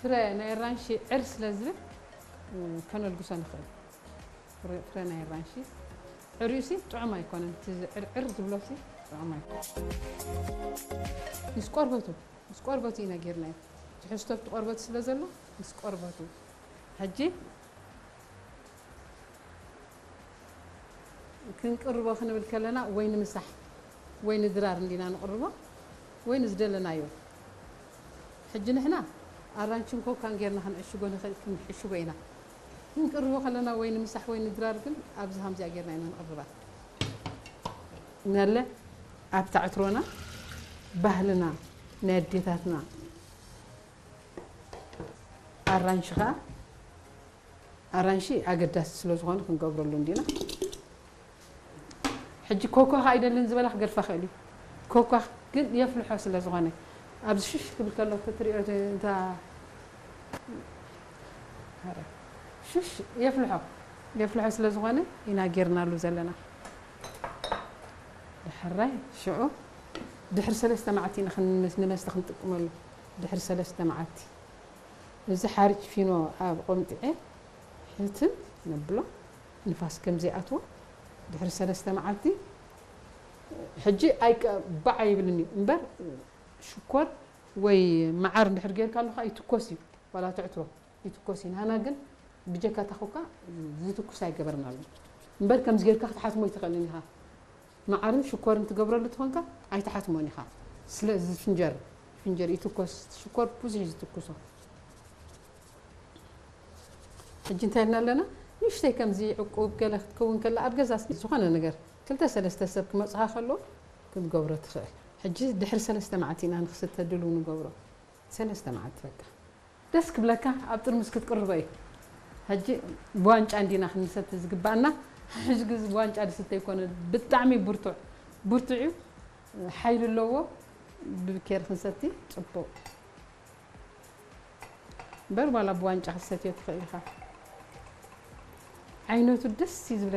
ፍረ ናይ ኣራንሺ ዕር ስለ ዝብል ከነልግሶ ንኽእል። ፍረ ናይ ኣራንሺ ዕርዩሲ ጥዑም ኣይኮነን። እቲ ዕርዕር ዝብሎሲ ጥዑም ኣይኮነን። ምስ ቆርበቱ ምስ ቆርበቱ ኢና ጌርናዮ። ትሕዝቶ ኣብቲ ቆርበቱ ስለ ዘሎ ምስ ቆርበቱ። ሕጂ ክንቅርቦ ክንብል ከለና ወይ ንምሳሕ ወይ ንድራር እንዲና ንቕርቦ ወይ ንዝደለናዮ። ሕጂ ንሕና ኣራንችን ኮካን ጌርና ክንዕሽጎ ንኽእል ክንሕሽጎ ኢና። ክንቅርቦ ከለና ወይ ንምሳሕ ወይ ንድራር ግን ኣብዚ ሃምዚኣ ጌርና ኢና ንቕርባ። ነለ ኣብ ታዕትሮና ባህልና ናይ ኣዴታትና ኣራንሽኻ ኣራንሺ ኣገዳሲ ስለ ዝኾነ ክንገብረሉ እንዲና። ሕጂ ኮኳ ኣይደልን ዝበላ ክገድፋ ክእል እዩ። ኮኳ ግን የፍልሖ ስለ ዝኾነ ኣብዚ ሽሽ ክብል ከሎ ተትሪኦ እንታ ሽሽ የፍልሖ የፍልሖ ስለ ዝኾነ ኢና ጌርናሉ ዘለና። ድሕራይ ሽዑ ድሕሪ ሰለስተ መዓልቲ ኢና ክንመስ- ንመስተ ክንጥቀመሉ። ድሕሪ ሰለስተ መዓልቲ እዚ ሓርጭ ፊኖ ኣብ ቆምጥዐ ሕትም ነብሎ ንፋስ ከም ዘይኣትዎ ድሕሪ ሰለስተ መዓልቲ። ሕጂ ኣይቀ ባዕ ይብልን እዩ እምበር ሽኮር ወይ መዓር እንድሕር ጌርካ ኣለካ ይትኮስ እዩ። ዋላ ትዕትሮ ይትኮስ እዩ። ንሃና ግን ብጀካ ታኹካ ዝትኩስ ኣይገበርናሉ እምበር ከምዚ ጌርካ ክትሓትሞ ይትኽእልን ኢኻ። መዓርን ሽኮርን ትገብረሉ ትኾንካ ኣይትሓትሞን ኢኻ። ስለ ዝፍንጀር ፍንጀር ይትኮስ ሽኮር ብዙሕ እዩ ዝትኩሶ። ሕጂ እንታይ ኢልና ኣለና? ንእሽተይ ከምዚ ዕቁብ ገለ ክትከውን ከላ ኣብ ገዛ ዝኾነ ነገር ክልተ ሰለስተ ሰብ ክመጽኻ ከሎ ክትገብሮ ትኽእል። ሕጂ ድሕሪ ሰለስተ መዓልቲ ኢና ንክስተ ድልው ንገብሮ። ሰለስተ መዓልቲ በቃ ደስ ክብለካ ኣብ ጥርሙስ ክትቅርቦ እዩ። ሕጂ ብዋንጫ እንዲና ክንሰቲ ዝግባኣና። ሕጂ ግዜ ብዋንጫ ዝስተ ይኮነ ብጣዕሚ ብርቱዕ ብርቱዕ እዩ። ሓይሊ ኣለዎ። ብኬር ክንሰቲ ጽቡቕ እምበር ዋላ ብዋንጫ ክትሰትዮ ትኽእል ኢኻ። ዓይነቱ ደስ እዩ ዝብለካ።